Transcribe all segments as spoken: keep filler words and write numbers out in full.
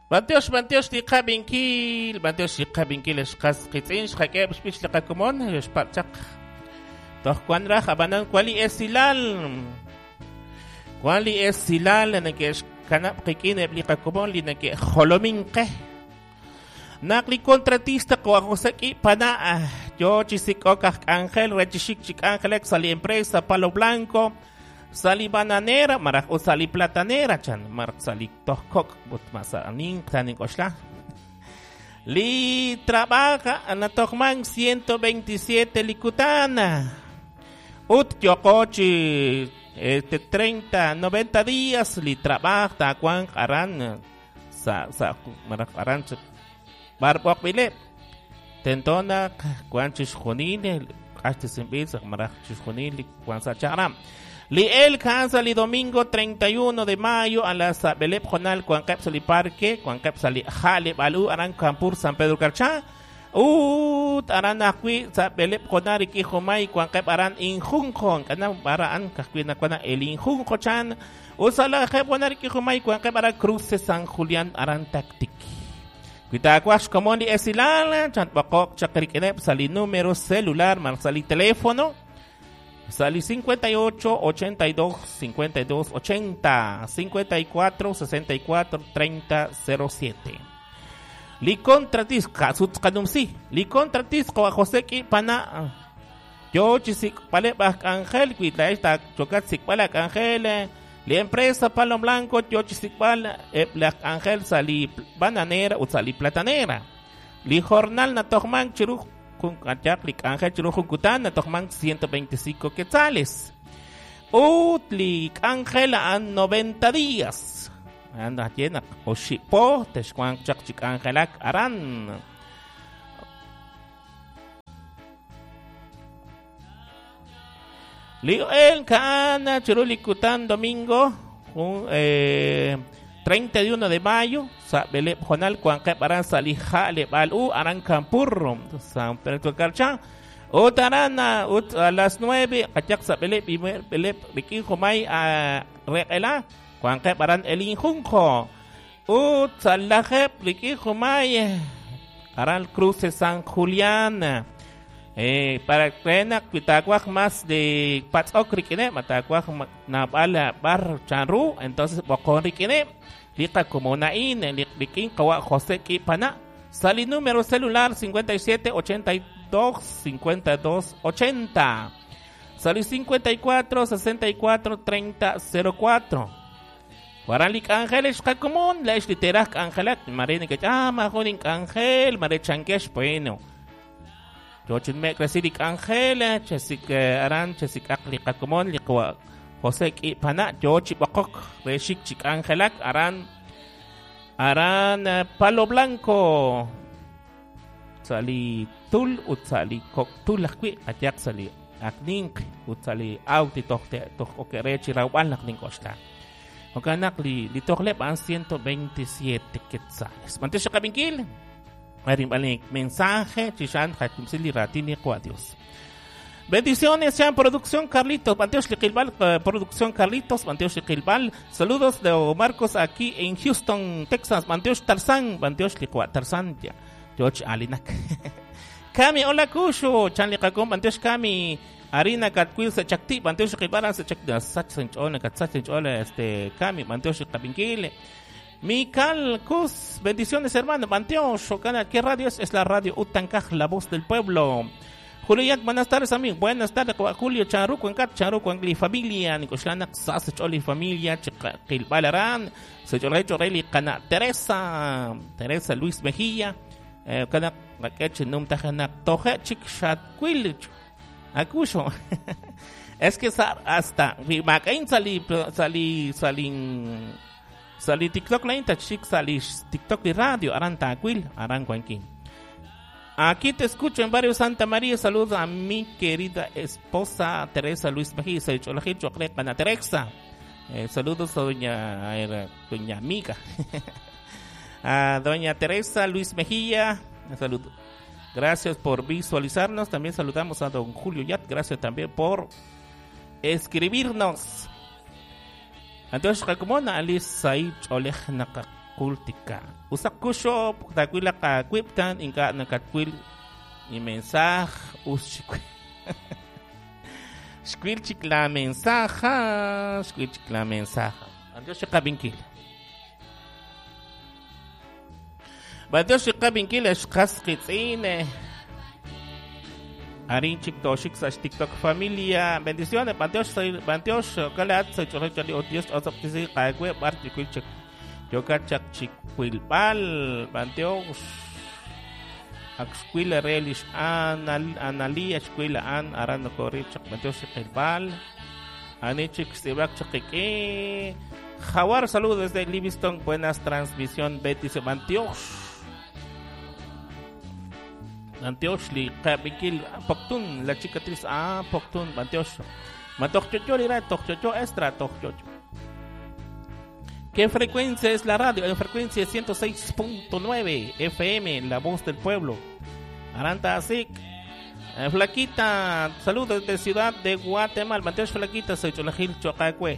Bantiox, bantiox li qabinkil, bantiox li qabinkil xqas qitz'in xqak'eb' xb'ich li qakomon xpatchaq. Toj kwan raj abanan kwali esilal. Kwali esilal nake xkanab' qikin eb' li qakomon li nake jolomin qe. Naq li contratista ko José Ki pana yo chisik'ok aj k'anjel rechixik chi k'anjelek sa li empresa Palo Blanco. Sali bananera, maraj o sali platanera, chan, maraj sali tohkok, but masanin, tanin oxla. Li trabaja anatohman ciento veintisiete likutana. Ut yokochi este treinta, noventa días li trabaja takuan aran sa sa maraj aran barbok bile. Tentona kuan chishjonil, hasta sin maraj chishjonil kuan sa charam. Li el cansa li domingo treinta y uno de mayo a las Belep Jonal Cuan Sali Parque, Cuan Sali Jale Balu Aran Campur San Pedro Carchá. Ut aran akwi sa Belep Jonal iki Jomay Cuan Aran Injunjo, kana baraan kakwi na kuana el Injunjo chan. Usala Jeb Jonal iki Jomay Cuan Aran Cruce San Julián Aran Tactic. Cuitacuash como li esilala chan bakok chakrikenep sali número celular mar sali teléfono. Sali cincuenta y ocho, ochenta y dos, cincuenta y dos, ochenta, cincuenta y cuatro, sesenta y cuatro, treinta, cero siete. Li contratis, kasut kanumsi, li contratis ko José Ki pana. Yo chisik pale bak ángel, cuitla esta chocat sikpala ángel. Li empresa Palo Blanco, yo chisikpal black ángel sali bananera o sali platanera. Li jornal na tohman chiruj. Kun kachak lik ángel chiruj kutan na tohman ciento veinticinco quetzales. Ut lik ángel a noventa días. Anda llena oshipo teshkuan chak chik ángelak aran. Leo el kana chirulikutan domingo un, eh, treinta y uno de mayo sa Belep Jonal Cuan Aran Salija Lebal U Aran Campurro San Pedro Carchá Utarana ut a las nueve Kachak sa Belep y Belep Rikin Jomay a Reela Cuan Aran El Injunjo Ut Salajep Rikin Jomay Aran Cruce San Julián. Eh, para creena cuitacuaj más de patzok riquine, matacuaj nabala bar chanru, entonces bocón riquine, lica como nain, liquin kawa José Kipana, sali número celular cincuenta y siete, ochenta y dos, cincuenta y dos, ochenta, sali cincuenta y cuatro, sesenta y cuatro, treinta, cero cuatro. Guaralik ángeles común, la es literal ángelak, marene que ah, majonin ángel, mare chanquesh, bueno. Yo me crecirik ángel, chesik aran, chesik akli kakumon, likwa José Kipana, yo chipokok, reshik chik ángelak, aran, aran Palo Blanco, sali tul, utsali koktul, akwi, atyak sali aknink, utsali auti tohte, tohokere, chirauan laknink oshla. Okanak li, li tohlep an ciento veintisiete quetzales. Mantesha kabinkil. Mensaje, Chishan, Hakumsili, Ratini, Dios. Bendiciones, sean producción Carlitos, Banteos Liquilbal, producción Carlitos, Banteos Liquilbal. Saludos de Marcos aquí en Houston, Texas, Banteos Tarzán, Banteos Liqua, Tarzán, ya, George Alinak. Kami, hola Kusho, Chan Liqakum, Banteos Kami, Arina Katquil, Sechakti, Banteos Liquilbal, Sechakti, Sachinchola, Katsachinchola, este, Kami, Banteos Liqabinkile. Mikal Cus, bendiciones hermano, Panteón, Shokana, ¿qué radio es? Es la radio Utancaj, la voz del pueblo. Julio Yak, buenas tardes amigo, buenas tardes, Julio Charuco, Encat, Charuco, Angli familia, Nicoslana, Sas, Choli familia, Chiquilbalarán, Sechorrey, Chorrey, Cana, Teresa, Teresa Luis Mejía, Cana, Raqueche, Num Tajana, Toje, Chic, Chatquil, Acucho. Es que hasta, Macaín salí, salí, salí. Sali TikTok la inta chic sali TikTok y radio aran taquil aran cuanquín. Aquí te escucho en Barrio Santa María. Saludos a mi querida esposa Teresa Luis Mejía, Choclepa Teresa. Eh, saludos a doña era, doña amiga. A doña Teresa Luis Mejía. Saludos. Gracias por visualizarnos. También saludamos a don Julio Yat. Gracias también por escribirnos. Entonces, como na alis say cholej naka Jultika. Usak kusho takwila ka kwiptan inka nakakwil ni mensaj us xkwil chik la mensaja, xkwil chik la mensaja. Andios xkabinkil. Bandios xkabinkil xkas kitzine. Arin chik toshik sa TikTok familia. Bendiciones, Bandios Bandios kalat sa chori o Dios osoptisi kawe bar chik chik. Yoka chak chikwilbal Bandios. Axquila relish anal analia xquila an arano kori chak Bandios chikwilbal. Ani chik sibak chakike. Jaguar, saludos desde Livingston. Buenas transmisión Betis Bandios. Antioch li kabikil Poktun la chica tris ah Poktun Antioch Matokchocho lira Tokchocho extra Tokchocho. ¿Qué frecuencia es la radio? En frecuencia ciento seis punto nueve F M, La Voz del Pueblo. Aranta Asik. Eh, Flaquita, saludos desde Ciudad de Guatemala. Antioch Flaquita, soy Cholajil Chocacue.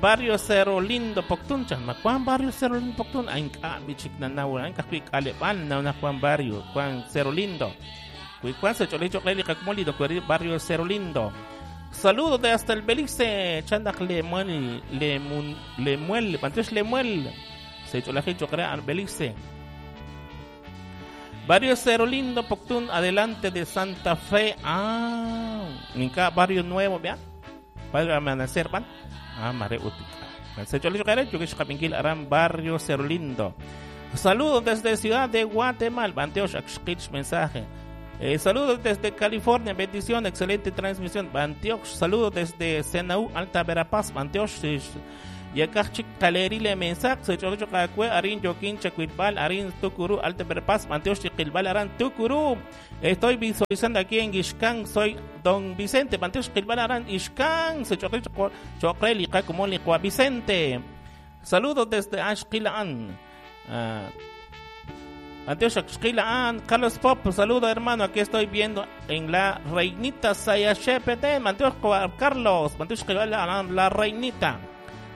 Barrio Cerro Lindo Poktun chan ma Juan Barrio Cerro Lindo Poktun ay ka bichik na nawa ay ka kaleban na na Juan Barrio Juan Cerro Lindo kui Juan se chole chole li kakmoli do Barrio Cerro Lindo. Saludos de hasta el Belice chandak Lemuel Lemun Lemuel Pantesh Lemuel se chole chole al Belice. Barrio Cerro Lindo Poktun adelante de Santa Fe. Ah, ninka barrio nuevo vea. Barrio Amanecer van. Ah, mare utika. Barrio Cerro Lindo. Saludos desde Ciudad de Guatemala. Banteosh, mensaje. Eh, saludos desde California. Bendición, excelente transmisión. Banteosh, saludos desde Senaú, Alta Verapaz. Banteosh, Yakachik Kalerile mensaje. Se chocho kakue arin yokin chacuilbal arin tukuru Alta Verapaz. Banteosh chiquilbal aran tukuru. Estoy visualizando aquí en Ixcán. Soy Don Vicente. Banteosh quilbal aran Ixcán. Se choque choque como liqua Vicente. Saludos desde Ashquilaan. Banteosh Ashquilaan. Carlos Pop, saludo hermano. Aquí estoy viendo en la Reinita Sayachepete. Banteosh Carlos. Banteosh quilbal aran la Reinita.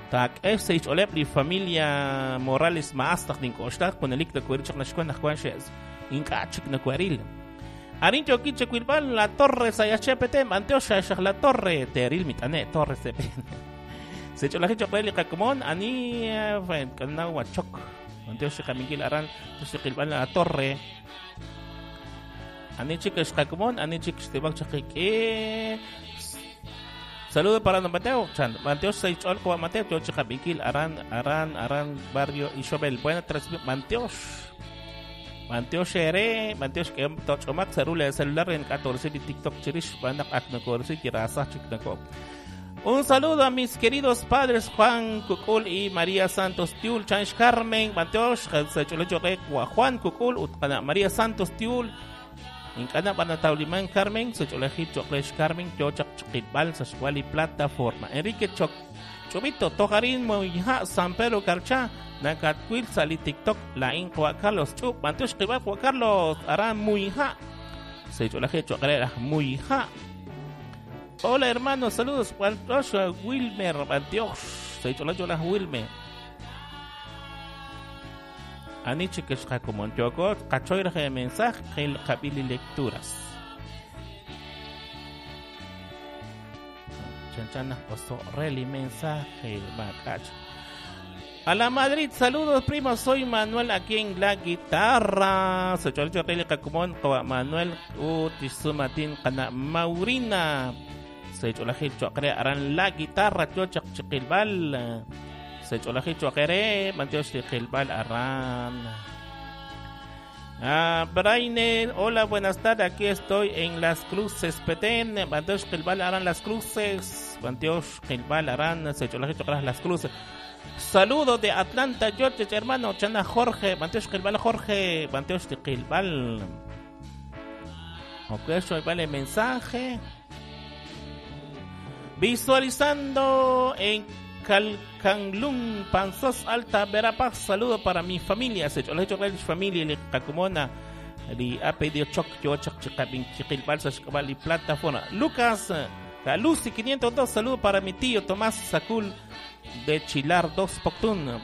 Tak S H Olep li familia Morales maastaq nin koxtaq ponelik da kuerichaq naxkuan najkuan xes ink'achik nakueril Arin yokiche kuilbal la torre sayachepete Banteosh xaj la torre teril mitane torre sepen se cholaje choqreli qakumon ani kanaw chok Banteosh qamingil aran tusiqilbal la torre ani chik xqakumon ani chik xtibak chaqike. Saludos para don Mateo. Chan, Mateo seis olco Mateo Chicabikil Aran Aran Aran Barrio Isabel. Buena transmisión Mateo. Mateo Shere, Mateo que tochomak celular celular en catorce de TikTok chirish banak aknakorsi kirasa chiknako. Un saludo a mis queridos padres Juan Cucul y María Santos Tiul, Chanch Carmen, Mateo Juan Cucul, Utqana María Santos Tiul. Inkana banatauliman Carmen, Socholeji Choclesh Carmen, Chochak Chikibal, Sashwali plataforma. Enrique Choc Chobito, Tojarín Moija, San Pedro Carchá, Nakatquil, Sali TikTok, La Inqua Carlos Chup, Mantush Kibal Juan Carlos, Aran Muija, Socholeji Choclera Muija. Hola hermanos, saludos, Wilmer, Antioch, Socholeji Wilmer. Aniche que es como yo cachoira de mensaje el cabili lecturas. Chanchana oso reli mensaje macach. A la Madrid, saludos primo, soy Manuel aquí en la guitarra. Soy Cholicho Reli Cacumón, Manuel Utisumatín Cana Maurina. Soy Cholajil Chocre Aran la guitarra, Chochak Chiquilbal. Se cholaje choquere, Manteosh Chiquilbal Aran. Ah, Braine, hola, buenas tardes. Aquí estoy en Las Cruces, Petén. Manteosh Chiquilbal Aran Las Cruces. Manteosh Chiquilbal Aran, se cholaje choquere Las Cruces. Saludos de Atlanta, Georgia, hermano. Chana Jorge, Manteosh Chiquilbal Jorge, Manteosh Chiquilbal. Ok, eso vale mensaje. Visualizando en Calcanglun, Panzós, Alta Verapaz. Saludo para mi familia. Se cholaje familia, le Cacumona, li A P D Choc, Yo Choc, Chicabin, Chiquilbal, Sashkabal y plataforma. Lucas, Lucy quinientos dos, saludo para mi tío Tomás Sacul de Chilar dos Poctún.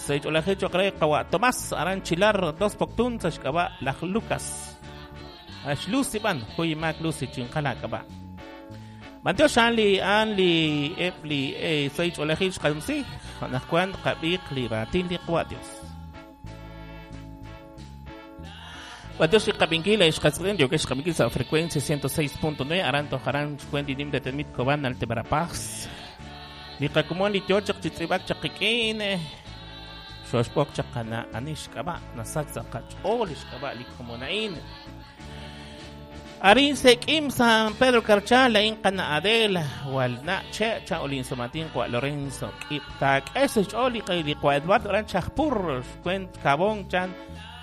Seich'olajil choq re qawa Tomás aran Chilar dos Poktun sa xk'ab'a' laj Lucas. Ax Lucy b'an juy maak Lucy chinqala k'ab'a'. Mantiox an li an li eb li eh, seich'olajil xqanumsi anaqwan qab'iq li raatin li qawa Dios. Mantiox qab'inkil xqatz'ilin yokex qab'inkil sa frecuencia ciento seis punto nueve aran tojaran xkuenti nim detenmit Cobán Alta Verapaz. Li qakumon li yochaq chi tz'ib'ak chaqiq'in xoxpok chaqana anix k'ab'a nasak sa qach'ool xk'ab'a li komonain. Arin sekim San Pedro Carchá la inqana Adela walna che cha olin somatin kwa Lorenzo k'ib taak'es xch'ool li li kwa Eduardo aran Chajpur xkwent Cabón chan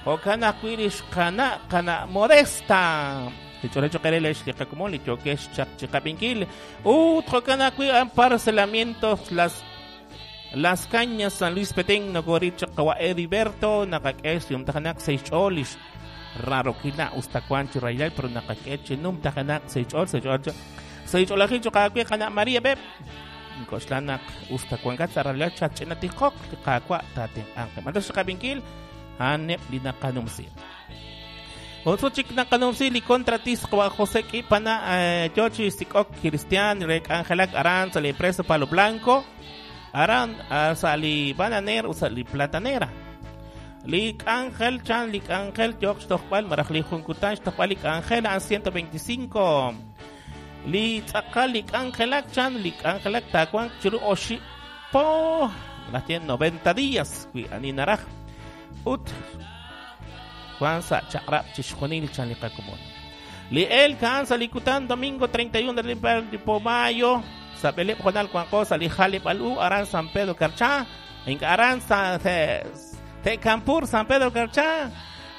jo'kan ajwi' li xqana qana Modesta Lich'olecho qerelex li qakumon li yokex chaq chiqab'inkil ut jo'kan ajwi' an parcelamientos las Las Cañas San Luis Petén nokorit chaq qawa Heriberto naqak'ex yumtajanak seixch'ool lix rarokila ustakuan chi raylal pero naqak'e chi numtajanak seixch'ool seixch'ool seixch'oolajil choqawi qana María Beb nkoxlanak ustakuankat sa raylal chach'inatiqoq li qakwa tatinq'anqe mantox chiqab'inkil aneb li naqanumsi. Otro chik naqanumsi li contratis qawa José K'ipana yochi sik'ok Cristian rek Angelak aran sa li empresa Palo Blanco aran sa li bananera o sa li platanera. Li Ángel chan li Ángel yok xtojb'al maraj li junkutan xtojb'al li Ángel an ciento veinticinco. Li tz'aqal li Ángelak chan li Ángelak takuan chiru oxi po las tiene noventa días wi ani naraj ut Juan sa chaqrab chixjunil chan li qakumon. Li el kan sa likutan domingo treinta y uno de mayo sa beleb jonal kuanko sa li jalib al u aran San Pedro Carchá inka aran sa te Campur San Pedro Carchá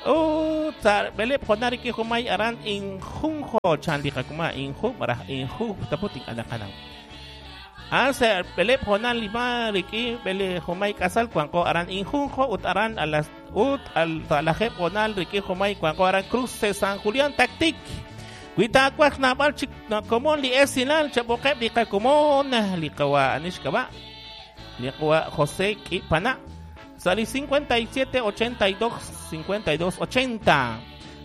u sa beleb jonal ki jumay aran injunjo chan li qakuma inju maraj inju taputin anaqanam. An sa beleb jonal lima riki bele jumay kasal kuanko aran injunjo ut aran a las ut al talajeb jonal riki jumay kuanko aran Cruce San Julián Tactic. Kuitakuaj nabal chik komon li esinal chaboqeb li qakumon li qawa anishkaba li qawa José K'ipana sali cincuenta y siete ochenta y dos cincuenta y dos ochenta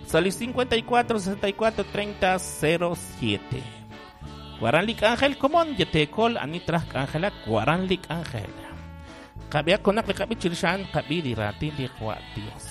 sali cincuenta y cuatro sesenta y cuatro treinta cero siete. Guaran lik Ángel komon yetekol anitraj Ángela guaran lik Ángel. Qabia konak li qabi chirishan qabi li ratin li qawa Dios.